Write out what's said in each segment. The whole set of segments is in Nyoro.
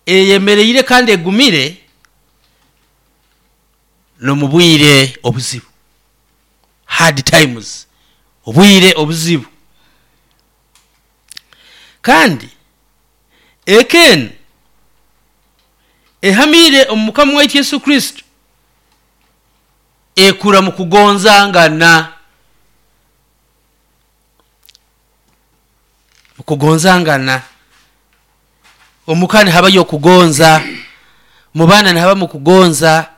Eyemereire kandi egumire n'omu bwire obuzibu, hard times, obwire obuzibu. Kandi eka enu ehamiire omu Mukama waitu Yesu Kristo ekura mu kugonzangana. Okugonzangana. Omuka nihabayo okugonza, mu baana nihabamu okugonza,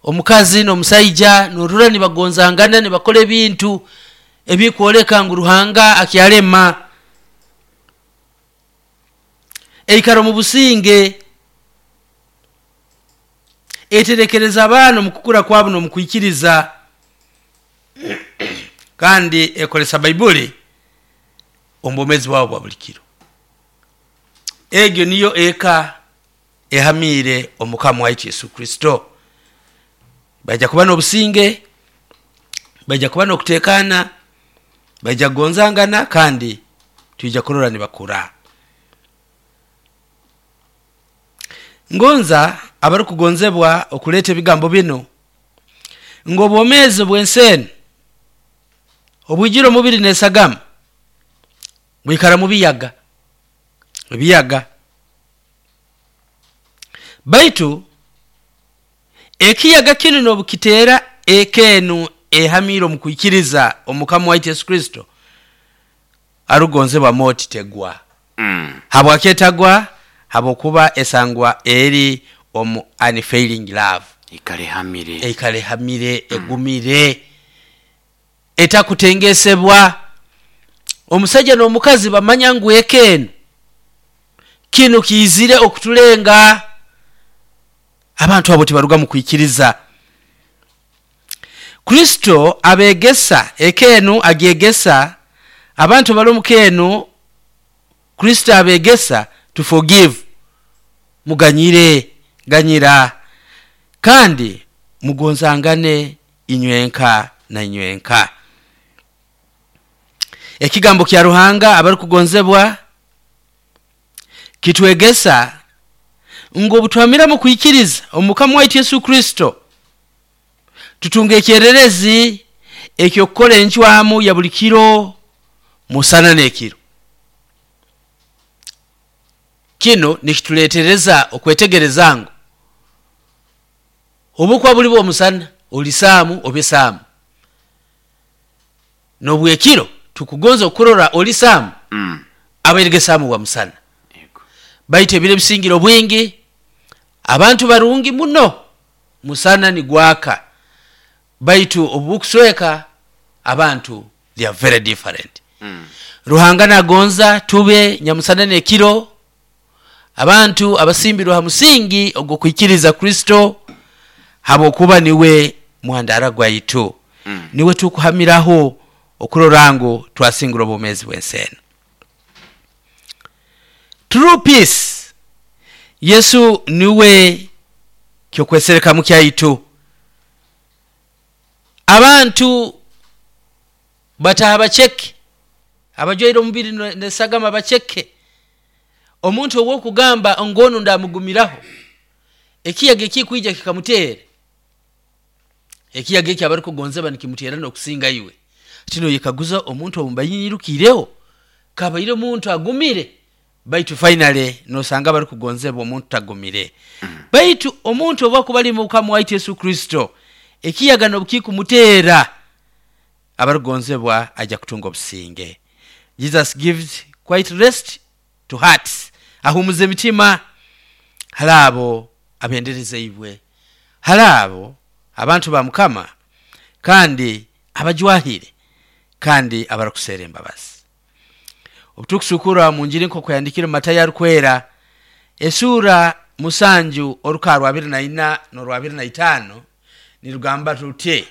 omukazi n'omusaija norora nibagonzangana nibakora ebintu ebikwoleka ngu Ruhanga akyalema. Eikara omu businge, eterekereza abaana omu kukura kwabo n'omu kwikiriza. Kandi ekozesa Baibuli omu bwomeezi bwabo bwa buli kiro. Egyo niyo eka ehamiire omu Mukama waitu Yesu Kristo. Baija kuba n'obusinge, baija kuba n'okutekaana, baija kugonzangana kandi twija kurora nibakura. Ngonza abarukugonzebwa okuleeta ebigambo binu ngu obwomeezi obw'ensi enu obwijwire omubiri n'esagama bwikara mu biyaga, ebiyaga. Baitu ekiyaga kinu n'obu kiteera eka enu ehamiire omu kwikiriza omu Mukama waitu Yesu Kristo, arukugonzebwa moti tegwa. Habwaki etagwa? Habwokuba esangwa eri omu unfailing love. Eikara ehamire. Eikara ehamire, egumire, etakutengesebwa. Omusaija n'omukazi bamanya ngu eka enu, kinu kiizire okutulenga. Abantu abo tibaruga mu kwikiriza. Kristo abegesa, eka enu agyegesa, abantu abali omu ka enu Kristo abegesa to forgive, muganyire, ganyira, kandi mugonzangane inywenka na inywenka. Ekigambo kya Ruhanga abarukugonzebwa kitwegesa ngu obutuhamira mu kwikiriza omu Mukama waitu Yesu Kristo, tutunga ekyererezi eky'okukora encwamu ya buli kiro musana n'ekiro. Kinu nikituletereza okwetegereza ngu obukuba buli bw'omusana oli saamu obe saamu, n'obwekiro tukugonza okurora oli saamu abairege saamu bwa musana. Baitu ebiro ebisingire obwingi abantu barungi muno musana nigwaka baitu obubukusweka abantu they are very different. Ruhanga nagonza tube nyamusana n'ekiro abantu abasimbirwe ha musingi ogw'okwikiriza Kristo habwokuba niwe mwandara gwaitu, niwe tukuhamiraho okurora ngu twasingura obwomeezi bw'ensi enu. True peace, Yesu niwe ky'okweserekamu kyaitu. Abantu bataha baceke, abajwaire omubiri n'esagama baceke. Omuntu ow'okugamba ngu onu ndamugumiraho, ekiyaga ekikwija kikamuteera, ekiyaga eki abarukugonzebwa nikimuteera n'okusinga iwe. Hati noyekaguza omuntu ou mbaire nyirukiireho kabaire muntu agumire? Baitu finally nosanga abarukugonzebwa omuntu tagumire. Baitu omuntu obu akuba ali Mukama waitu Yesu Kristo, ekiyaga n'obukikumuteera, abarukugonzebwa aija kutunga obusinge. Jesus gives quite rest to hearts, ahumuza emitima hali abo abenderezeibwe, hali abo abantu ba Mukama kandi abajwahire kandi abarukuseera embabazi. Obu turukusukura omu Njiri nk'oku yandikire Matayo arukwera, esuura musanju oruka rwabiri na ina n'orwabiri na itaano nirugamba ruti,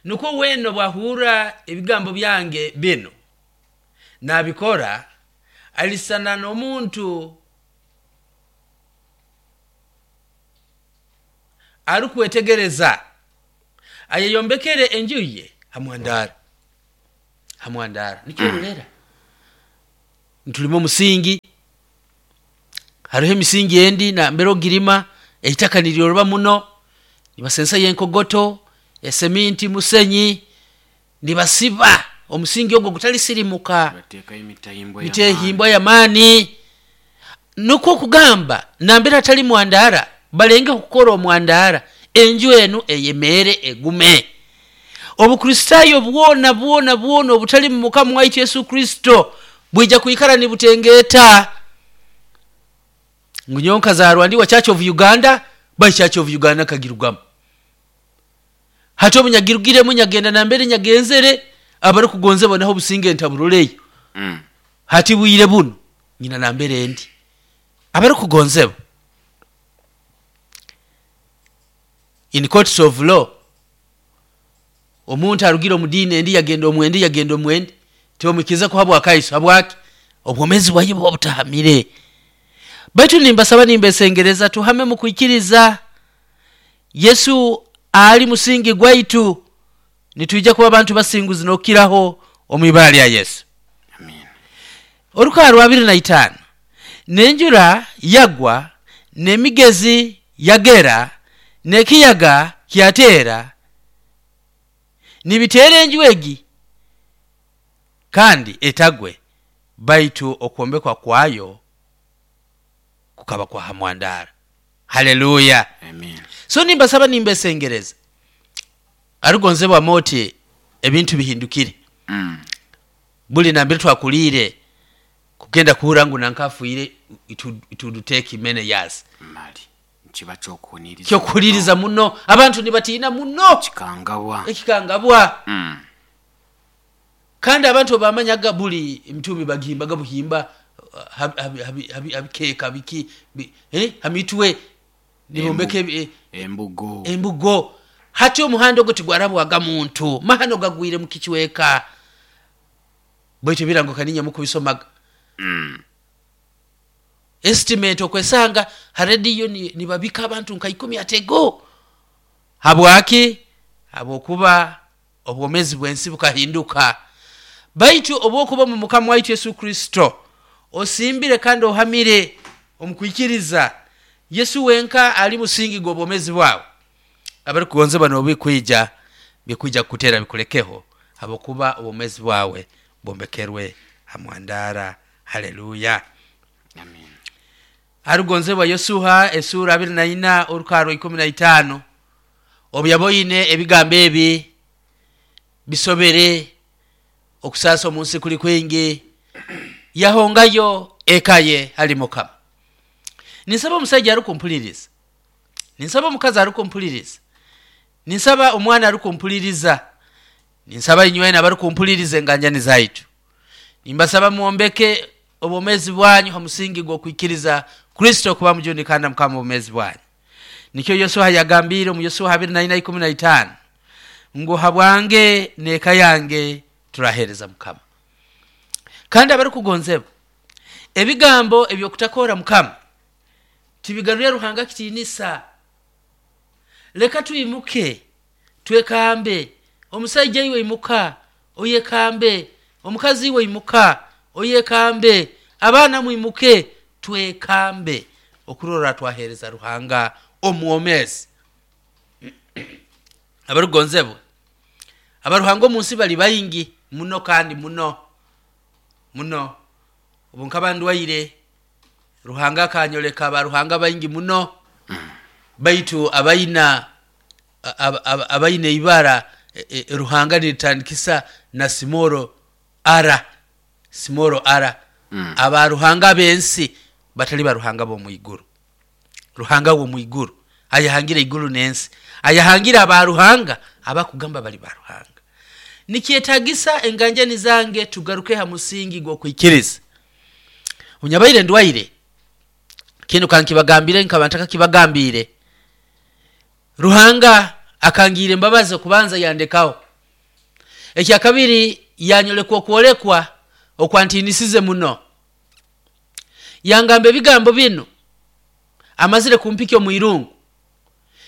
Nukwo weena obu ahurra ebigambo byange binu, naabikora, alisisana n'omuntu arukwetegereza, ayeyombekere enju ye ha mwandara. Ha mwandara. Nikyo ororera nitulima omusingi. Haroho emisingi endi nambere ogirima eitaka niryoroba muno, nibasensayo enkogoto, eseminti, musenyi, nibasiba omusingi ogu gutalisirimuka. Bateekayo emitahimbwa Mitehimbwa y'amaani. Nukwo kugamba nambere hatali mwandaara balengeho kukora omwandaara, enju enu eyemeere egume. Obukristaayo bwona bwona bwona obutali mu Mukama waitu Yesu Kristo bwija kwikara nibutengeeta. Ngu nyowe nkazaarwa ndi wa Church of Uganda, by Church of Uganda nkagirugamu. Hati obu nyagirugiremu nyagenda nambere nyagenzere, abarikugonzebwa naho obusinge ntaburoleyo. Hati bwire bunu nyina nambere ndi. Abarikugonzebwa, in courts of law, omuntu arugire omu diini endi yagenda omu endi yagenda omu endi, tibamwikiriza kuhabwa akaiso. Habwaki? Obwomeezi bwaye buba butahamire. Baitu nimbasaba nimbesengereza tuhame mu kwikiriza. Yesu ali musingi gwaitu, nitwija kuba bantu basinguzi n'okukiraho omu ibara lya Yesu. Amiina. Orukaha rwa abiri na itaano, N'enjura yagwa, n'emigezi yagera, n'ekiyaga kyateera, nibiteera enju egi, kandi etagwe, baitu okwombekwa kwayo kukaba kwa ha mwandaara. Haleluya! Amen. So nimbasaba nimbesengereza, arugonzebwa moti ebintu bihindukire. Buli nambere twakuliire kugenda kuhurra ngu nanka afiire, it would take many years. Mali nikiba ky'okuhuniiriza Ky'okuhuniiriza muno. Abantu nibatiina muno. Kikangabwa. Ekikangabwa. Kandi abantu obu baamanyaga buli emitumbi bagihimbaga buhimba ha bikeeka biki, ha mitwe, nibombeka Embugo. Embugo. Hati omuhanda ogu tigwarabwaga muntu. Mahano gagwire mu kicweka. Baitu ebirango kaninya mukubisomaga. Estimate okwesanga ha rediyo nibabika abantu nka ikumi atego. Habwaki? Habwokuba obwomeezi bw'ensi bukahinduka. Baitu obwokuba omu Mukama waitu Yesu Kristo, osimbire kandi ohamire omu kwikiriza, Yesu wenka ali musingi gw'obwomeezi bwawe. Abarikugonzebwa n'obu bikwija, bikwija kukuteera bikulekeho, habwokuba obwomeezi bwawe bwombekerwe ha mwandaara. Haleluya! Amen. Arugonzebwa Yosuha esuura abiri na ina orukaha rwa ikumi na itaano, obu yaboine ebigambo ebi bisobere, okusaasa omu nsi kuli kwingi, yahongayo eka ye hali Mukama. Ninsaba omusaija arukumpuliriza, ninsaba omukazi arukumpuliriza, ninsaba omwana arukumpuliriza, ninsaba inywena abarukumpuliriza enganjani zaitu, nimbasaba mwombeke obwomeezi bwanyu ha musingi gw'okwikiriza Kristo kuba mujuni kandi Mukama w'obwomeezi bwanyu. Nikyo Yosuha yagambiire omu Yosuha abiri na ina ikumi na itaano ngu habwange n'eka yange turaheereza Mukama. Kandi abarukugonzebwa, ebigambo eby'okutakoora Mukama tibigarurya Ruhanga kitiinisa. Leka twimuke twekambe. Omusaija iwe imuka oyekambe, omukazi iwe imuka oyekambe, abaana mwimuke twekambe okurora twaheereza Ruhanga omwomeezi. Abarukugonzebwa, abaruhanga omu nsi bali baingi muno kandi muno muno. Obu nkaba ndwaire, Ruhanga akanyoleka abaruhanga baingi muno, baitu abaina ibara Ruhanga niritandikisa na simoro ara, simoro ara. Abaruhanga ab'ensi batali baruhanga b'omu iguru. Ruhanga w'omu iguru ayahangire iguru n'ensi, ayahangire abaruhanga abakugamba bali baruhanga. Nikyetagisa enganjani zange tugaruke ha musingi gw'okwikiriza. Onyabaire ndwaire, kinu kankibagambire nkaba ntakakibagambiire. Ruhanga akangiira embabazi okubanza yandekaho. Ekyakabiri yanyolekwa okwolekwa okwantiinisize muno. Yangamba ebigambo binu amazire kumpikya omu irungu.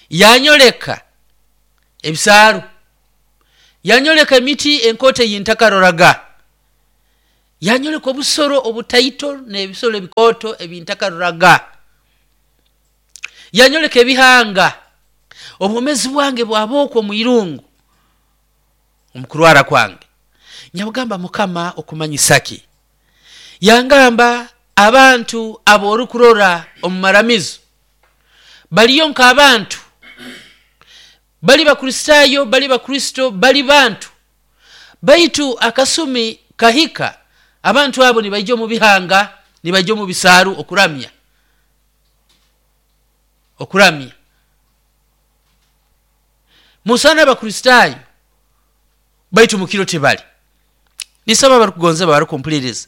Yanyoleka ebisaaru. Yanyoleka emiti enkooto ei ntakaroraga. Yanyoleka obusoro obutaito n'ebisoro ebikooto ebi ntakaroraga. Yanyoleka ebihanga, obwomezi bwange bwaba okwo omu irungu omu kurwara kwange. Nyabugamba, Mukama okumanyisa ki? Yangamba, abantu ab'orukurora omu maramizo baliyo nk'abantu, bali Bakristaayo, bali Bakristo, bali bantu, baitu akasumi kahika abantu abo nibaija omu bihanga, nibaija omu bisaaru okuramya, okuramya. Musana Abakristaayo, baitu mukiro tibali. Nisaba abarukugonza barukumpuliriza,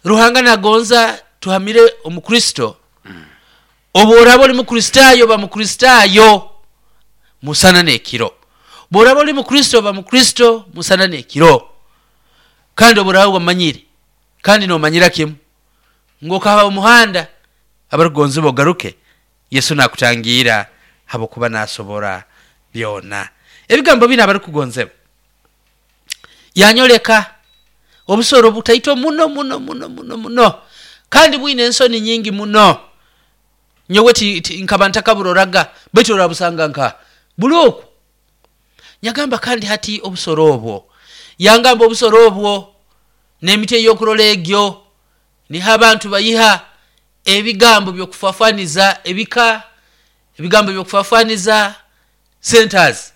Ruhanga nagonza tuhamire omu Kristo. Obu oraba oli Mukristaayo, ba Mukristaayo musana n'ekiro. Bw'oraba oli Mukristo, ba Mukristo musana n'ekiro. Kandi obu oraba wamanyire kandi nomanyira kimu ngu okahaba omuhanda, abarukugonzebwa ogaruke, Yesu nakutangiira habwokuba nasobora byona. Ebigambo binu, abarukugonzebwa, yanyoleka obusoro butaito muno muno muno muno muno, kandi bwine ensoni nyingi muno. Nyowe nkaba ntakaburoraga, baitu orabusanga nka buli oku. Nyagamba, kandi hati obusoro obwo? Yangamba, obusoro obwo n'emiti ey'okurora egyo niho abantu bayiha ebigambo by'okufafaniza ebika, ebigambo by'okufafaniza centers.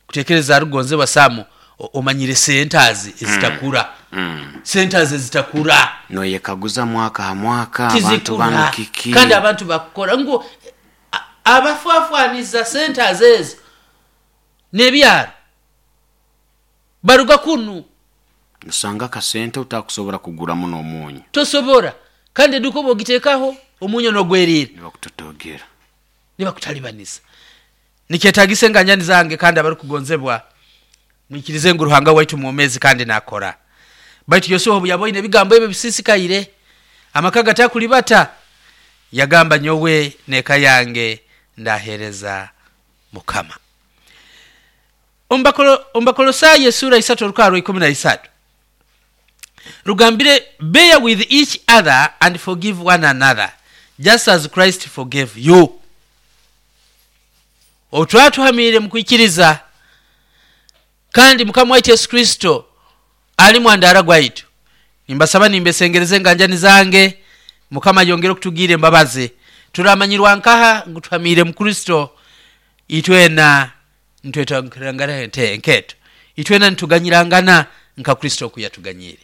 Kutekereza, arukugonzebwa Samu, omanyire centers ezitakura, centers ezitakura. Noyekaguza mwaka ha mwaka abantu banu tizikura kiki? Kandi abantu bakukora ngu abafafaniza centers ezo n'ebyaro baruga kunu. Osanga akasente otakusobora kuguramu n'omunyu. Tosobora, kandi eduka obu ogiteekaho omunyo nogweriira. Nibakutotogera. Nibakutalibaniza. Nikyetagisa, enganjani zange kandi abarukugonzebwa, mwikirize ngu Ruhanga waitu mwomezi kandi nakora. Baitu Yosuha obu yaboine ebigambo ebyo bisisikaire, amaka gatakulibata, yagamba, nyowe n'eka yange ndahereza Mukama. Omu Bakolosaayo esura 3 orukaha rwa 13 rugambire, bear with each other and forgive one another just as Christ forgave you. Obu twaba tuhamiire mu kwikiriza kandi Mukama waitu Yesu Kristo ali mwandaara gwaitu, nimbasaba, nimbesengereza, enganjani zange, Mukama ayongere okutugiira embabazi. Turamanyirwa nkaha ngu tuhamiire mu Kristo? Itwena nitwetangirangana enketo, itwena nituganyirangana nka Kristo oku yatuganyiire.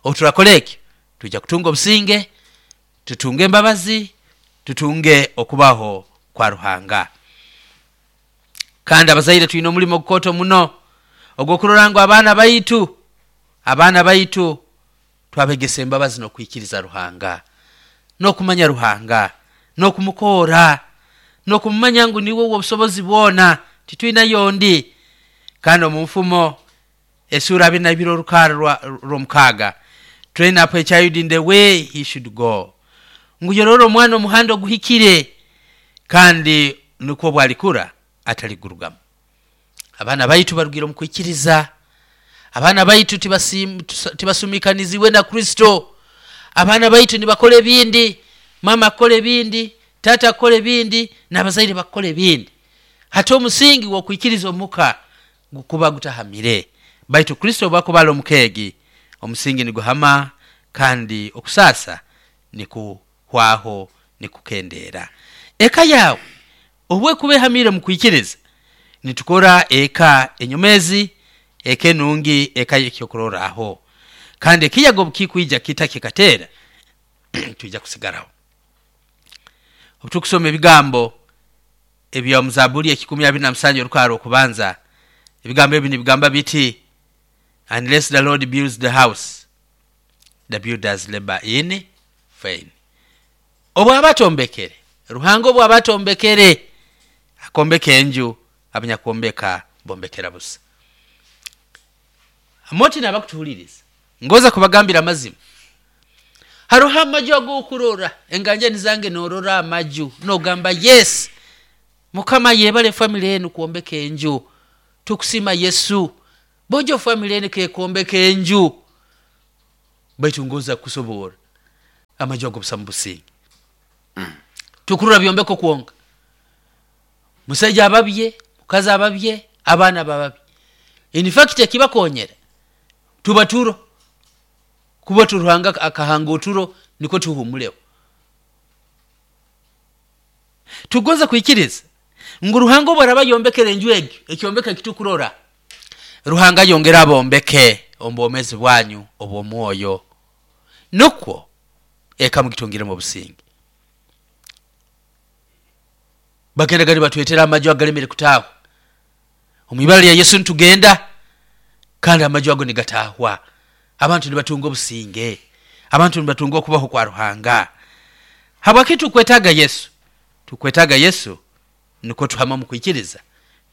Obu turakora ekyo, twija kutunga obusinge, tutunge embabazi, tutunge okubaho kwa Ruhanga. Kandi abazaire twine omulimo ogukooto muno ogw'okurora ngu abaana baitu twabegesa embabazi n'okwikiriza Ruhanga n'okumanya Ruhanga n'okumukoora n'okumumanya ngu niwe w'obusobozi bwona, titwinayo ondi. Kandi omu Nfumo esura 22 orukaara rw'omukaaga, train up a child in the way he should go, ngu yorora omwana omuhanda oguhikire, kandi nikwo bwalikura ataligurugamu. Abaana baitu barugire omu kwikiriza, abaana baitu tibasumikanizibwe na Kristo. Abaana baitu nibakora ebindi, mama akukora ebindi, taata akukora ebindi, n'abazaire bakukora ebindi. Hati omusingi gw'okwikiriza omuka gukuba gutahamire, baitu Kristo obu akuba ali omukeegi, omusingi niguhama kandi okusaasa nikuhwaho, nikukendeera. Eka yawe obu ekuba ehamire mu kwikiriza, nitukora eka enyomezi, eka enungi, eka y'ekyokurorraho, kandi ekiyaga obu kikwija kita kikateera, twija kusigaraho. Obu tukusoma ebigambo ebya Muzabuli 127 orukaara okubanza, ebigambo ebi nibigamba biti, unless the Lord builds the house, the builders labor in vain. Obu aba atombekere, Ruhanga obu aba atombekere, akombeka enju, abanyakuombeka bombekera busa. Moti nabakutuhuliriza, ngoza kubagambira amazima, haroho amaju ag'okurora, enganjani zange, norora amaju nogamba, yes, Mukama yebale family enu kwombeka enju, tukusima Yesu, bojo family enu kekombeka enju. Baitu ngoza kusobora amaju ago busa mu businge. Tukurora byombeko kwonka. Musaija ababye, mukazi ababye, abaana bababye. In fact ekibakonyera tuba turo, kuba Ruhanga akahanga oturo nikwo tuhumuleho. Tugonza kwikiriza ngu Ruhanga obu araba ayombekere enju egi, ekyombeko ekitukurora, Ruhanga ayongere abombeke omu bwomeezi bwanyu obw'omwoyo, nukwo eka mugitungiremu obusinge. Bagendaga nibatwetera amaju agalemere kutaahwa. Omu ibara lya Yesu nitugenda, kandi amaju ago nigatahwa. Abantu nibatunga obusinge, abantu nibatunga okubaho kwa Ruhanga. Habwaki tukwetaaga Yesu? Tukwetaaga Yesu nukwo tuhame omu kwikiriza,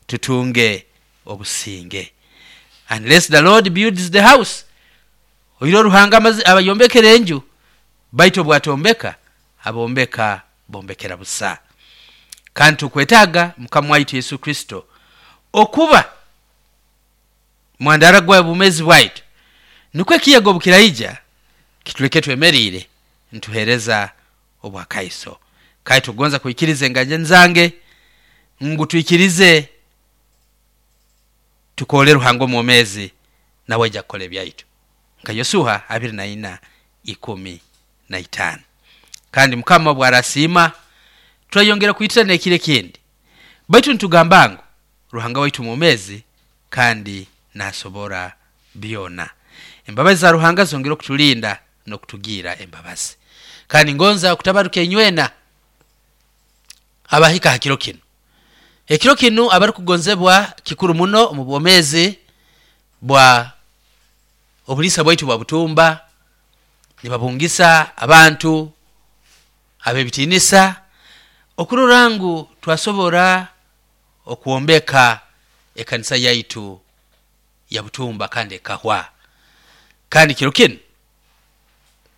tutunge obusinge. Unless the Lord builds the house, oiro Ruhanga abayombekera enju, baitu obwatombeka, abombeka bombekera busa. Kandi tukwetaaga Mukama waitu Yesu Kristo okuba mwandara gwa bumezi bwaitu, nukwo ekiyaga obukiraija kituleke twemeriire nituheereza obwakaiso. Kandi tugonza kwikiriza enganya zange ngu twikirize tukole Ruhanga omwomezi, nawe aija kukora ebyaitu, nka Yosuha 24:15. Kandi Mukama obwarasiima twayongera kwitira n'ekiro ekindi, baitu nitugamba ngu Ruhanga waitu mwomezi kandi nasobora byona. Embabazi za Ruhanga zongera okutulinda n'okutugiira embabazi. Kandi ngonza okutabaruka inywena abahika ha kiro kinu. Ekiro kinu abarukugonzebwa kikuru muno omu bwomezi bwa obuliisa bwaitu bwa Butumba. Nibabungisa abantu ab'ebitiinisa okurora ngu twasobora okwombeka ekanisa yaitu ya Butumba kandi ekahwa. Kandi kiro kinu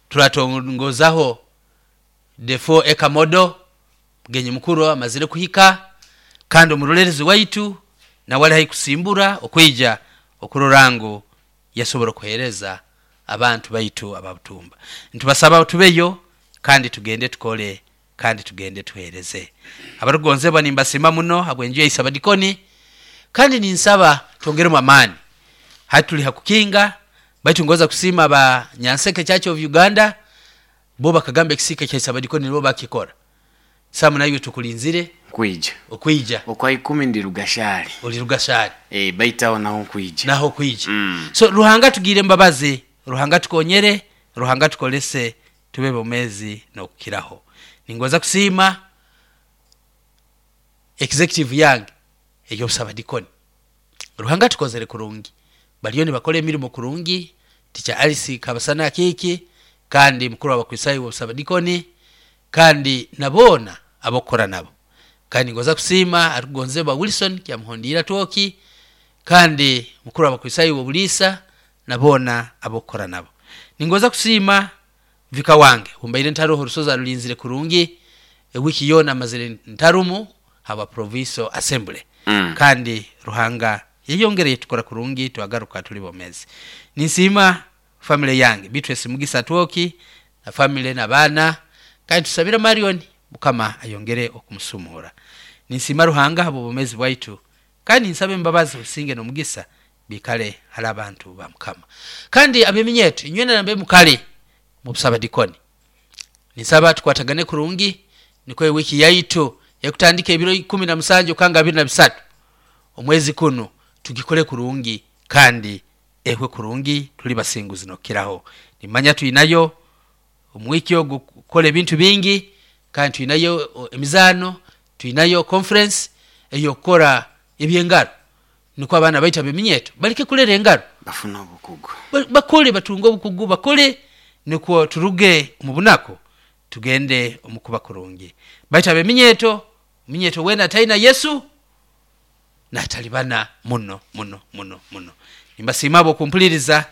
turatongozaho the 4 acre model. Mugenyi mukuru amazire kuhika, kandi omurolerezi waitu nawe ali haihi kusimbura okwija okurora ngu yasobora okuheereza abantu baitu aba Butumba. Nitubasaba tubeyo kandi tugende tukole kandi tugende tuheereze. Abarukugonzebwa, nimbasiima muno habw'enju ya Isabadikoni, kandi ninsaba twongeremu amaani. Hati tuli ha kukinga, baitu ngonza kusiima aba Nyanseke Church of Uganda, bo bakagamba ekisiika kya Isabadikoni nibo bakikora. Samu, naiwe tukulinzire. Nkwija. Okwija. Okwa 10 ndi Rugashari. Oli Rugashari. Baitu aho naho nkwija. Naho kwija. So Ruhanga tugiire embabazi, Ruhanga tukonyere, Ruhanga tukolese tube bomezi n'okukiraho. Ningonza kusiima executive yange ey'obusabadikoni. Ruhanga tukozere kurungi, bariyo nibakora emirimo kurungi. Tica Alice Kabasana Akiiki kandi mukuru w'Abakristaayo b'obusabadikoni, kandi na boona ab'okukora nabo. Kandi ningonza kusiima arukugonzebwa Wilson Kyamuhondiire Atwoki, kandi mukuru w'Abakristaayo b'obuliisa na boona ab'okukora nabo. Ningonza kusiima vika wange, mbaire ntaroho, orusozi arulinzire kurungi, ewiki yoona amazire ntarumu habwa Proviso Assembly. Kandi Ruhanga yeyongere yetukora kurungi, twagaruka tuli bomezi. Ninsiima family yange, Beatrice Mugisa Atwoki na family n'abaana, kandi tusabira Marion, Mukama ayongere okumusumura. Ninsiima Ruhanga habw'obwomezi bwaitu, kandi ninsaba embabazi, obusinge n'omugisa biikale hali abantu ba Mukama. Kandi ab'eminyeeto inywena nambe mukale mu busabadikoni, ninsaba tukwatagane kurungi, nikwo ewiki yaitu ekutandika ebiro 17 okanga 23 omwezi kunu tugikole kurungi kandi ehwe kurungi, tuli basinguzi n'okukiraho. Nimanya twinayo omu wiiki ogu kukora ebintu bingi, kandi twinayo emizaano, twinayo conference ey'okukora eby'engaro, nukwo abaana baitu ab'eminyeeto baleke kulera engaro. Bafune obukugu. Bakole, batunge obukugu, bakole, nukwo turuge omu bunaku tugende omu kuba kurungi. Baitu ab'eminyeeto, omunyeeto weena ataina Yesu natalibana muno muno muno muno. Nimbasiima habw'okumpuliriza,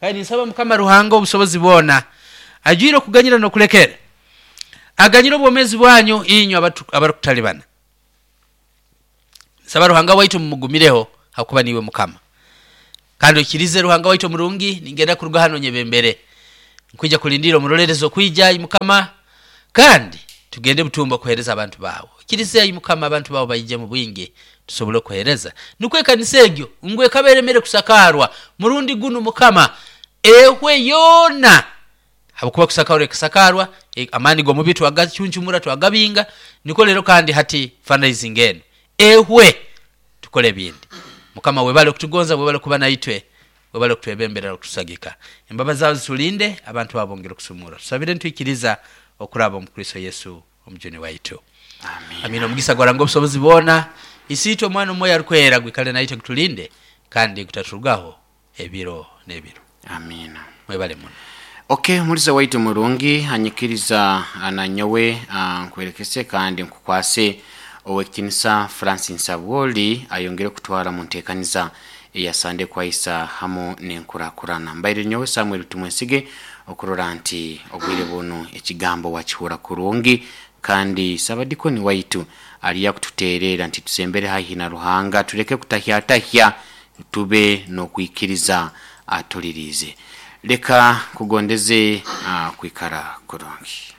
kandi ninsaba Mukama Ruhanga obusobozi bwona, ajwire okuganyira n'okulekera, aganyire obwomezi bwanyu inywe abarukutalibana. Nsaba Ruhanga waitu mumugumireho, hakuba niiwe Mukama. Kandi oikirize Ruhanga waitu omurungi, ningenda kuruga hano nyebembere. Nkwija kulindira omurolerezi okwija, ai Mukama, kandi Tugende butumba kuhereza abantu bawe. Ikiriza ayi Mukama abantu bawe baije mu bwingi tusobole kuhereza. Nukwo ekanisa egyo ngu ekaba eremere kusakarwa murundi gunu Mukama ehwe yoona, habwokuba kusakarwa ekasakarwa, amaani g'omubi twagacuncumura twagabinga. Nikwo rero kandi hati fundraising enu ehwe tukole ebindi. Mukama webale okutugonza, webale kuba naitwe, webale okutwebembera okutusagika. Embabazi zawe zitulinde, abantu bawe bongere okusumura. Tusabire nitwikiriza okuraba omu Kristo Yesu omujuni waitu. Amina. Amina. Omugisa gwa Ruhanga obusobozi bwona, Isiitwe, Omwana, Omwoyo Arukwera gwikale naitwe gutulinde kandi gutaturugaho ebiro n'ebiro. Amina. Mwebale muno. Ok, omuliza waitu murungi anyikiriza nanyowe nkwerekese kandi nkukwase Owekitinisa Francis Sabwoli ayongere kutwara mu ntekaniza eya Sande Kwaisa hamu n'enkurakurana. Mbaire nyowe Samuel Tumwesige okurora nti obwire bunu ekigambo wakihura kurungi, kandi Sabadikoni waitu aliya kututerera nti tusembere haihi na Ruhanga, tuleke kutahyatahya, tube n'okwikiriza atulirize. Leka kugondeze kwikara kurungi.